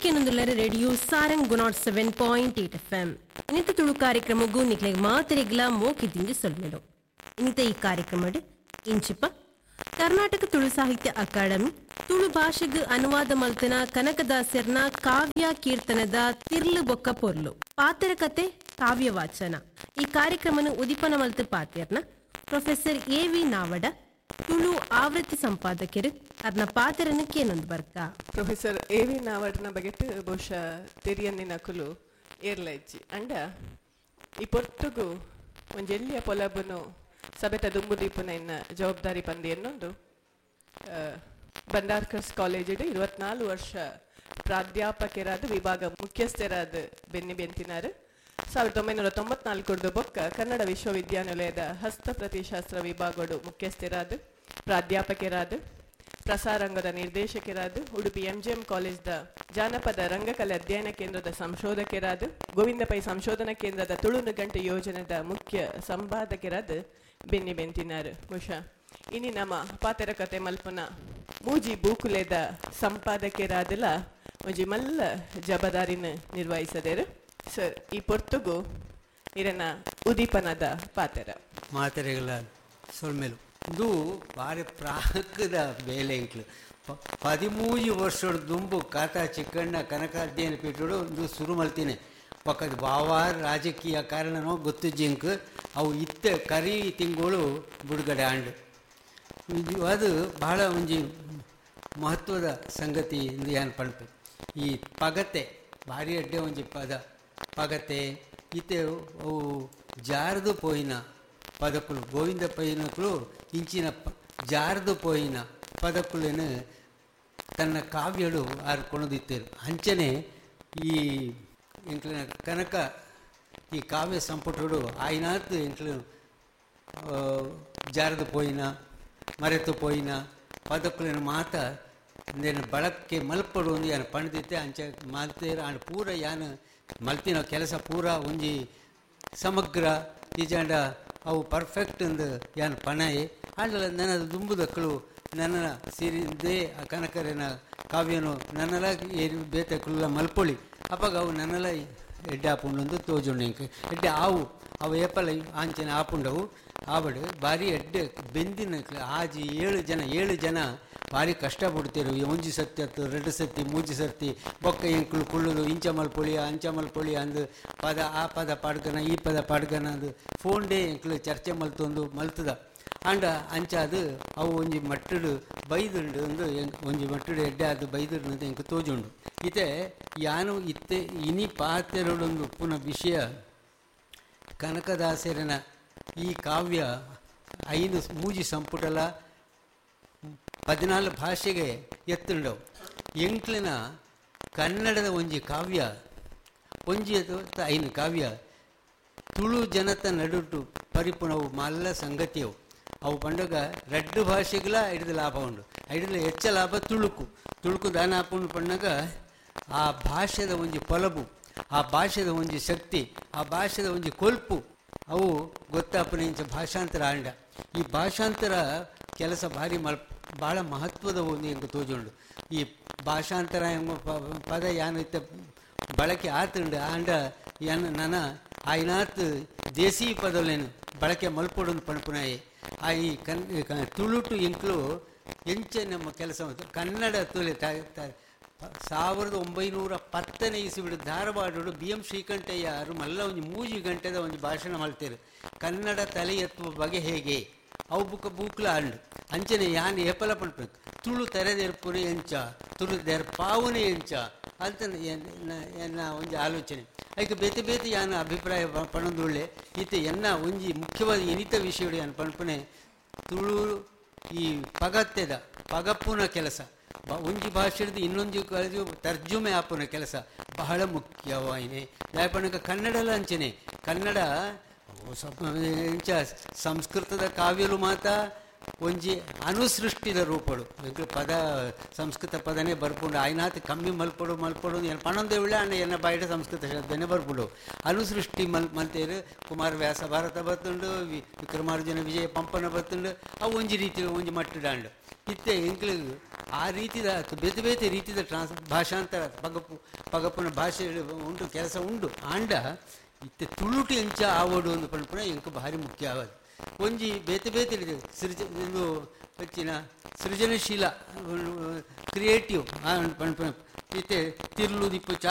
ಈರ್ಕೆನೊಂದುಲ್ಲರ radio Sarang 107.8 FM ಇನ್ನಿತ Tulu ಕಾರ್ಯಕ್ರಮಗೂ ನಿಕ್ಲೆಗ್ ಮಾತರಿಗ್ಲ ಮೋಕಿದಿಂಜಿ ಸೊಲ್ಮೆಲು. ಇನ್ನಿತ ಈ ಕಾರ್ಯಕ್ರಮಡ್ ಇಂಚಿಪ ಕರ್ನಾಟಕ ತುಳು ಸಾಹಿತ್ಯ ಅಕಾಡೆಮಿ ತುಳು ಭಾಷೆಗ್ ಅನುವಾದ ಮಲ್ತನ ಕನಕದಾಸರ್ನ ಕಾವ್ಯ ಕೀರ್ತನದ ತಿರ್ಲು ಬೊಕ್ಕ ಪೊರ್ಲು ಪಾತೆರ ಕತೆ ಕಾವ್ಯ ವಾಚನ ಈ ಕಾರ್ಯಕ್ರಮನ ಉದಿಪನ ಮಲ್ತು ಪಾತೆರ್ನ ಪ್ರೊಫೆಸರ್ ಎ ವಿ ನಾವಡ, ತುಳು ಆವೃತ್ತಿ ಸಂಪಾದಕರು ಅರ್ನ ಪಾತೆರನ್ನು ಕೇನೊಂದು ಬರ್ಕ. ಪ್ರೊಫೆಸರ್ ಎ ವಿ ನಾವಡ್ನ ಬಗೆಟ್ ಬಹುಶಃ ತೆರಿಯನ್ನಿನಕುಲು ಏರ್ಲ ಇಜ್ಜಿ. ಅಂಡ ಈ ಪೊರ್ತುಗು ಒಂಜೆಲ್ಲಿಯ ಪೊಲಬುನು ಸಭೆತ ದುಂಬು ದೀಪುನ ಇನ್ನ ಜವಾಬ್ದಾರಿ ಪಂದಿ ಎನ್ನೊಂದು ಬಂಡಾರ್ಕರ್ಸ್ ಕಾಲೇಜಿಡ್ 24 ವರ್ಷ ಪ್ರಾಧ್ಯಾಪಕರಾದ ವಿಭಾಗ ಮುಖ್ಯಸ್ಥರಾದ ಬೆನ್ನಿ ಬೆಂತಿನಾರು. 1994 ಬೊಕ್ಕ ಕನ್ನಡ ವಿಶ್ವವಿದ್ಯಾನಿಲಯದ ಹಸ್ತಪ್ರತಿಶಾಸ್ತ್ರ ವಿಭಾಗಡು ಮುಖ್ಯಸ್ಥರಾದ ಪ್ರಾಧ್ಯಾಪಕರಾದ ಪ್ರಸಾರಂಗದ ನಿರ್ದೇಶಕರಾದ ಉಡುಪಿ ಎಂಜಿಎಂ ಕಾಲೇಜ್ದ ಜಾನಪದ ರಂಗಕಲೆ ಅಧ್ಯಯನ ಕೇಂದ್ರದ ಸಂಶೋಧಕರಾದ ಗೋವಿಂದ ಪೈ ಸಂಶೋಧನಾ ಕೇಂದ್ರದ ತುಳು ಗಂಟೆ ಯೋಜನೆದ ಮುಖ್ಯ ಸಂಪಾದಕರಾದ ಬೆನ್ನಿ ಬೆಂತಿನಾರು. ಬಹುಶಃ ಇನಿ ನಮ್ಮ ಪಾತೆರ ಕತೆ ಮಲ್ಪನ ಮೂಜಿ ಬೂಕುಲೆದ ಸಂಪಾದಕರಾದಲ ಒಂಜಿ ಮಲ್ಲ ಜಬದಾರಿನ ನಿರ್ವಹಿಸದೇರು. ಸರ್, ಈ ಪೊರ್ತುಗು ಇರನ ಉದೀಪನದ ಪಾತೆರ ಮಾತೆರೆಗಳ ಸೊಲ್ಮೆಲು. ಇದು ಭಾರಿ ಪ್ರಾಕದ ಬೇಲೆ ಇಂಕ್ಲು 13 ವರ್ಷದ ದುಂಬು ಕಾತಾ ಚಿಕ್ಕಣ್ಣ ಕನಕ ಅಧ್ಯಯನ ಪೀಠಡು ಒಂದು ಶುರು ಮಲ್ತೀನಿ. ಪಕ್ಕದ ಬಾವಾರ ರಾಜಕೀಯ ಕಾರಣನೋ ಗೊತ್ತು ಜಿಂಕ್ ಅವು ಇತ್ತ ಕರಿ ತಿಂಗಳು ಬಿಡುಗಡೆ ಆಂಡು. ಅದು ಬಹಳ ಒಂಜಿ ಮಹತ್ವದ ಸಂಗತಿ ಎಂದು ಏನು ಪಣಪೆ. ಈ ಪಗತೆ ಭಾರಿ ಅಡ್ಡೆ ಒಂಜಿ ಪದ ಪಗತೆ ಇತ್ತೆ ಅವು ಜಾರದು ಪೋಯಿನ ಪದಕುಲು ಗೋವಿಂದ ಪೈನಕುಲು ಇಂಚಿನ ಜಾರದು ಪೋಯಿನ ಪದಕುಲೇನು ತನ್ನ ಕಾವ್ಯಳು ಆರು ಕೊಣದಿತ್ತೇರು. ಅಂಚನೆ ಈ ಎಂಕ್ಲಿನ ಕನಕ ಈ ಕಾವ್ಯ ಸಂಪುಟಡು ಆಯ್ನಾತ್ ಎಂಕ್ಲು ಜಾರದು ಪೋಯಿನ ಮರೆತು ಪೋಯಿನ ಪದಕುಲೇನು ಮಾತ ನೇನು ಬಳಕೆ ಮಲ್ಪಡು ಒಂದು ಯಾನು ಪಣದಿತ್ತೆ ಅಂಚೆ ಮಲ್ತೇರು. ಆಂಡ್ ಪೂರ ಯಾನು ಮಲ್ತಿನ ಕೆಲಸ ಪೂರ ಒಂಜಿ ಸಮಗ್ರ ಈಜಾಂಡ ಅವು ಪರ್ಫೆಕ್ಟ್ ಅಂದು ಯಾನು ಪಣಯೆ. ಆಂಡಲ ನನ್ನ ದುಂಬುದಕ್ಕಳು ನನ್ನ ಸಿರಿದೇ ಆ ಕನಕರಿನ ಕಾವ್ಯನು ನನ್ನಲ ಏರಿ ಬೇತಕ್ಕುಲ್ಲ ಮಲ್ಪೊಳಿ ಅಪ್ಪಾಗ ಅವು ನನ್ನಲ ಎಡ್ಡೆ ಆಪುಂಡು ತೋಜುಂಡು. ಇಂಕ ಎಡ್ಡೆ ಆವು ಅವು ಏಪಲ ಆಂಚನೆ ಆಪುಂಡವು ಆವಡು ಭಾರಿ ಎಡ್ಡೆ ಬೆಂದಿನ ಆಜಿ ಏಳು ಜನ ಭಾರಿ ಕಷ್ಟ ಪಡ್ತೀರು. ಒಂಜಿ ಸತ್ತಿ ಅತ್ತು ಎರಡು ಸತ್ತಿ ಮೂಜಿ ಸರ್ತಿ ಬೊಕ್ಕ ಎಂಕುಲು ಕುಳ್ಳುದು ಇಂಚ ಮಲ್ಪೊಳಿ ಅಂಚ ಮಲ್ಪೊಳಿ ಅಂದು ಪದ ಆ ಪದ ಪಾಡ್ಗನ ಈ ಪದ ಪಾಡ್ಗನ ಅಂದು ಫೋನ್ ಡೇ ಎಂಕುಲು ಚರ್ಚೆ ಮಲ್ತೊಂದು ಮಲ್ತದ. ಅಂಡ ಅಂಚಾದು ಅವು ಒಂಜಿ ಮಟ್ಟಡು ಬೈದುಂಡು ಒಂದು ಒಂಜಿ ಮಟ್ಟಡು ಎಡ್ಡೆ ಅದು ಬೈದುಂಡು ಅಂತ ಎಂಕು ತೋಜುಂಡು. ಇತ್ತೆ ಯಾನು ಇತ್ತೆ ಇನಿ ಪಾತೆರಡೊಂದು ಉಪ್ಪುನ ವಿಷಯ ಕನಕದಾಸರನ ಈ ಕಾವ್ಯ 5 ಮೂಜಿ ಸಂಪುಟಲ 14 ಭಾಷೆಗೆ ಎತ್ತುಂಡವು. ಎಂಕ್ಲಿನ ಕನ್ನಡದ ಒಂಜಿ ಕಾವ್ಯ ಒಂಜಿ 5 ಕಾವ್ಯ ತುಳು ಜನತ ನಡುಟು ಪರಿಪುಣವು ಮಲ್ಲ ಸಂಗತಿಯವು. ಅವು ಪಂಡಗ ರಡ್ಡು ಭಾಷೆಗಳ ಹಿಡಿದು ಲಾಭ ಉಂಡು. ಹಿಡಿದು ಹೆಚ್ಚ ಲಾಭ ತುಳುಕು ತುಳುಕು ದಾನ ಆಪುಂಡು ಪಣ್ಣಗ ಆ ಭಾಷೆದ ಒಂಜಿ ಪೊಲಬು, ಆ ಭಾಷೆದ ಒಂಜಿ ಶಕ್ತಿ, ಆ ಭಾಷೆದ ಒಂಜಿ ಕೊಲ್ಪು ಅವು ಗೊತ್ತಾಪುನ ಇಂಚ ಭಾಷಾಂತರ ಆಂಡ. ಈ ಭಾಷಾಂತರ ಕೆಲಸ ಭಾರಿ ಭಾಳ ಮಹತ್ವದ ಒಂದು ಎಂಬ ತೋಜುಂಡು. ಈ ಭಾಷಾಂತರ ಎಂಬ ಪದ ಯಾನು ಇತ್ತ ಬಳಕೆ ಆತುಂಡು ಆಂಡ ಯಾನು ನನ ಆಯ್ನಾತ್ ದೇಸೀ ಪದಲೇನು ಬಳಕೆ ಮಲ್ಪೊಡೊಂದು ಪಣಪುನಾಯಿ. ಆ ಈ ತುಳುಟು ಎಂಕ್ಲು ಎಂಚೆ ನಮ್ಮ ಕೆಲಸ ಕನ್ನಡ ತುಳಿ 1910ನೇ ಇಸುಬಿಡು ಧಾರವಾಡಡು ಬಿ ಎಂ ಶ್ರೀಕಂಠಯ್ಯರು ಮಲ್ಲ ಒಂದು 3 ಗಂಟೆದ ಒಂದು ಭಾಷಣ ಮಾಡ್ತಾರೆ ಕನ್ನಡ ತಲೆ ಎತ್ತುವ ಬಗೆ ಹೇಗೆ ಅವು ಬುಕ್ಕ ಬೂಕ್ಲ ಅಂಡು. ಅಂಚನೆ ಯಾನ್ ಏಪಲ ಪಣ್ಪು ತುಳು ತೆರೆದೆರ್ಪುನೆ ಎಂಚ ತುಳು ದೆರ್ಪಾವುನೆ ಎಂಚ ಅಂತ ಎನ್ನ ಒಂಜಿ ಆಲೋಚನೆ. ಐಕೆ ಬೇತೆ ಬೇತೆ ಯಾನ ಅಭಿಪ್ರಾಯ ಪಣೊಂದುಳ್ಳೆ. ಈತ ಎನ್ನ ಒಂಜಿ ಮುಖ್ಯವಾದ ಇನಿತ ವಿಷಯಡು ಯಾನ್ ಪಣ್ಪುನೆ ತುಳು ಈ ಪಗತ್ತೆದ ಪಗಪ್ಪುನ ಕೆಲಸ ಒಂಜಿ ಭಾಷೆಡ್ದು ಇನ್ನೊಂಜಿ ಕಾಲೇಜು ತರ್ಜುಮೆ ಆಪುನ ಕೆಲಸ ಬಹಳ ಮುಖ್ಯವಾಯಿನೆ. ದಾಯಪಣಕ ಕನ್ನಡಲ ಅಂಚನೆ ಕನ್ನಡ ಎಂಚ ಸಂಸ್ಕೃತದ ಕಾವ್ಯಲು ಮಾತ ಒಂಜಿ ಅನುಸೃಷ್ಟಿದ ರೂಪಡು ಎಂಕ್ಲು ಪದ ಸಂಸ್ಕೃತ ಪದನೇ ಬರ್ಪುಂಡು. ಆಯ್ನಾತ್ ಕಮ್ಮಿ ಮಲ್ಪೊಡು ಮಲ್ಪೊಡು ಏನು ಪಣೊಂದೇ ಉಳ್ಳೆ ಆಂಡ ಎನ್ನ ಬಾಯಿಡ್ ಸಂಸ್ಕೃತ ಶಬ್ದನೇ ಬರ್ಪುಂಡು. ಅನುಸೃಷ್ಟಿ ಮಲ್ತೇರು ಕುಮಾರವ್ಯಾಸ ಭಾರತ ಬತ್ತುಂಡು, ವಿಕ್ರಮಾರ್ಜುನ ವಿಜಯ ಪಂಪನ ಬತ್ತುಂಡು. ಅವು ಒಂಜಿ ರೀತಿ ಒಂಜಿ ಮಟ್ಟುಡಾಂಡು. ಇತ್ತೆ ಎಂಕ್ಲು ಆ ರೀತಿದ ಬೇತೆ ಬೇತೆ ರೀತಿದ ಭಾಷಾಂತರ ಪಗಪುನ ಭಾಷೆ ಉಂಟು, ಕೆಲಸ ಉಂಡು. ಆಂಡ ಇತ್ತೆ ತುಳುಟು ಎಂಚ ಆವೊಡು ಅಂದ್ ಪನ್ಪುನ ಎಂಕ್ ಭಾರಿ ಮುಖ್ಯ ಆವದು. ಒಂಜಿ ಬೇತೆ ಬೇತೆ ರೀತಿ ಇದು ಹೆಚ್ಚಿನ ಸೃಜನಶೀಲ ಕ್ರಿಯೇಟಿವ್ ಪನ್ಪುನ ಇತ್ತೆ ತಿರ್ಲು ದಿಪ್ಪು.